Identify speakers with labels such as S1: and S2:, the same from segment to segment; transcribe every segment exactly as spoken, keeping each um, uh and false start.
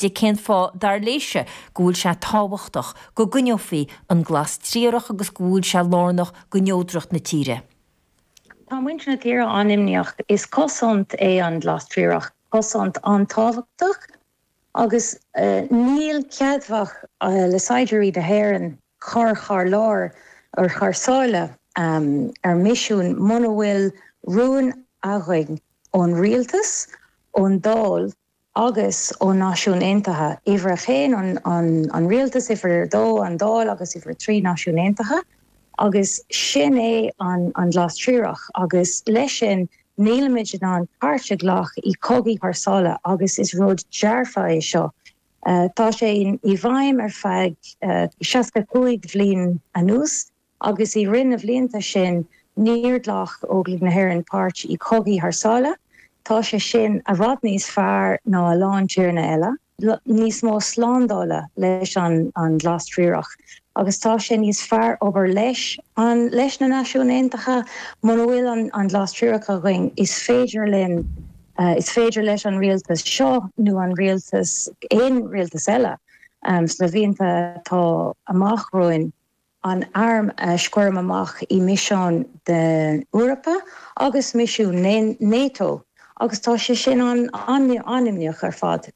S1: di cén fáth dar léise go bhfuil sé tábhachtach go gcoinneofaí an glas triarach agus go bhfuil sé lárnach go neodracht na tíre.
S2: Tá muintir na tíre an-imníoch is cosaint é an glas triarach, cosaint an-tábhachtach agus uh, níl ceadmhach uh, le saighdiúirí na hÉireann chur thar lear ar thar sáile um, ar misiún muna bhfuil rún againn ón rialtas, ón Dáil agus ó Náisiúin Aontaithe. Uimhir a haon an, an, an rialtas uimhir a dó an Dáil agus uimhir a trí Náisiúin Aontaithe. agus sin é an, an glas triarach agus leis sin nílimid in ann páirt a ghlacadh i cogaí thar sáile agus is rud dearfa é seo. Uh, tá sé i bhfeidhm ar feadh uh, seasca cúig bhliain anuas agus i rith na blianta sin níor ghlac Óglaigh na hÉireann páirt i cogaí thar sáile, Tá sé sin i bhfad níos fearr ná a lán tíortha eile. níos mó slándála leis an an glas triarach. agus tá sé níos fearr obair leis an leis na Náisiúin Aontaithe muna bhfuil an, an glas triarach againn is féidir linn uh, is féidir leis an rialtas seo nó an rialtas aon rialtas eile um, sna blianta atá amach romhainn an arm a sciúradh amach i misiún den Eorpa agus misiún NATO agus tá sé sin an an-imníoch ar fad.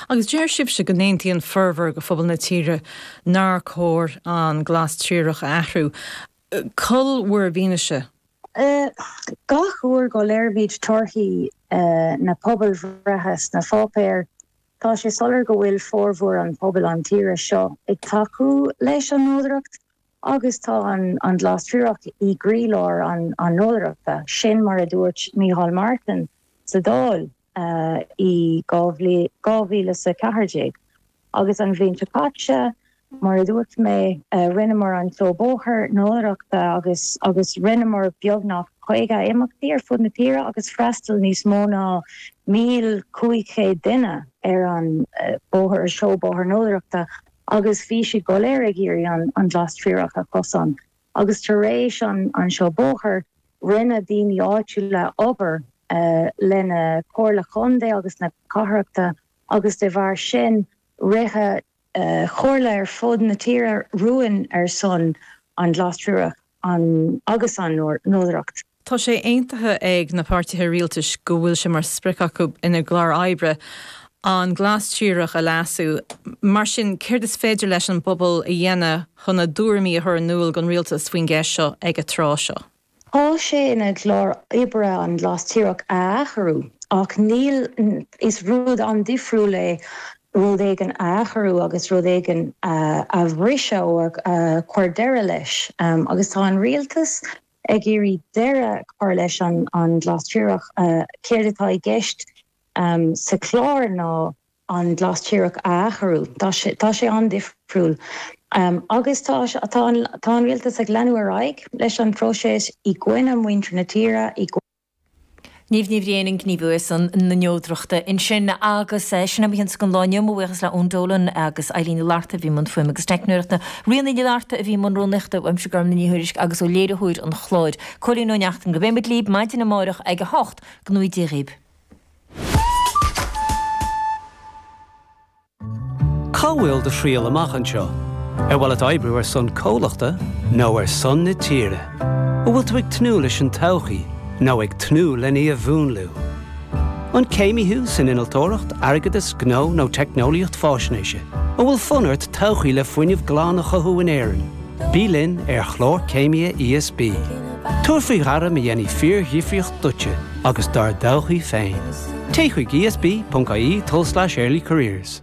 S3: Agus deir sibhse go n-aontaíonn formhór de phobal na tíre nár chóir an glas triarach a athrú. Cá bhfuil bhur bhfianaise?
S2: Uh, gach uair go léirímid torthaí uh, na pobalbhreithe sna páipéir, Tá sé soiléir go bhfuil formhór an pobal an tíre seo ag tacú leis an neodracht agus tá an, an glas triarach i gcroílár an, an neodrachta sin mar a dúirt Micheál Martin sa Dáil uh, i dhá mhíle sa ceathair déag. Agus an bhliain seo caite mar a dúirt mé uh, rinneamar an seó bóthair neodrachta agus agus rinneamar beagnach caoga imeachtaí ar fud na tíre agus freastal níos mó ná míle cúig chéad duine ar an uh, bóthar seó bóthair neodrachta agus bhí siad go léir ag iarraidh an, an glas triarach a chosaint. Agus tar éis an, an seó bóthair rinne daoine áitiúla obair uh, lena comhairle contae agus na cathrachta agus de bharr sin rith uh, comhairle ar fud na tíre rún ar son an glas triarach an agus an neodracht.
S3: Tá sé aontaithe ag na páirtithe rialtais go bhfuil sé mar sprioc acu ina gclár oibre an glas triarach a leasú, mar sin céard is féidir leis an bpobal a dhéanamh chun a dtuairimí a chur in iúl don rialtas faoin gceist seo ag an tráth seo.
S2: Tá sé ina gclár oibre an glas triarach a athrú ach níl is rud an-difriúil é rud éigin a athrú agus rud éigin a bhriseadh a chur deireadh leis um, agus tá an rialtas ag iarraidh deireadh chur leis an an glas triarach uh, céard atá i gceist um, sa chlár ná an glas triarach a athrú Tá sé an-difriúil. Um, agus tá tá an rialtas ag leanúint ar aghaidh leis an próiseas i gcoinne muintir na tíre i
S1: Niamh Ní Bhriain an gníomhaí ar son na neodrachta ansin agus sin a bhí againn don lá inniu buíochas le Eoin Dolan agus Eileen Larta bhí i mbun fuaime agus teicneoireachta. Ríona Ní Larta a bhí i mbun rúnaíochta uaimse Gormfhlaith Ní Thuairisg agus ó léiritheoir an chláir. Cóilín Ó Neachtain go mbeimid libh maidin amárach ag a hocht go ngnóthaí Dia dhaoibh.
S4: Cá bhfuil do thriall amach anseo? Ar mhaith leat oibriú ar son comhlachta nó ar son na tíre. An bhfuil tú ag tnúth leis an todhchaí nó ag tnúth lena í a mhúnlú. An céimí thú san innealtóireacht, airgeadas, gnó nó teicneolaíocht faisnéise, An bhfuil fonn ort todhchaí le fuinneamh glan a chothú in Éirinn. Bí linn ar chlár céime ESB. Tabhair faoi ghairm a dhéanfaidh fíordhifríocht duitse agus dár dtodhchaí féin. Téigh chuig ESB.ie tulslais early careers.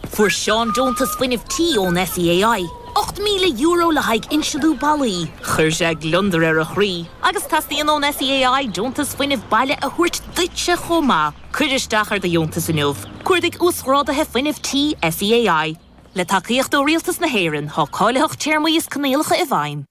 S5: Fuair Seán deontas fuinnimh tí ón SEAI. Ocht míle euro le haghaidh insealú ballaí, Chuir sé gliondar ar a chroí, agus teastaíonn ón SEAI deontas fuinnimh baile a thabhairt duitse chomh maith. Cuir isteach ar do dheontas inniu. Cuardaigh uasghráduithe fuinnimh tí SEAI. Le tacaíocht ó Rialtas na hÉireann tá cáilitheacht téarmaí is coinníollacha i bhfeidhm.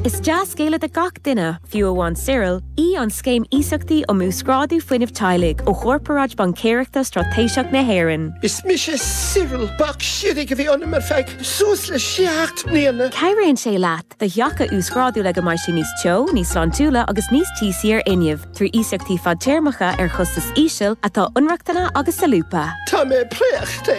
S6: Is dea-scéala do gach duine, fiú amháin Cyril, í an scéim iasachtaí um uasghrádú fuinnimh teaghlaigh ó Chorparáid Baincéireachta Straitéiseach na hÉireann.
S7: Is mise Cyril bac sirig a bhí ionam ar feadh suas le seacht mbliana.
S6: Cabhraíonn sé leat do theach a uasghrádú le go mbeidh sé níos teo, níos sláintiúla agus níos tíosaí ar fhuinneamh, trí iasachtaí fadtéarmacha ar chostas íseal atá inrochtana agus solúbtha.
S7: Tá mé préachta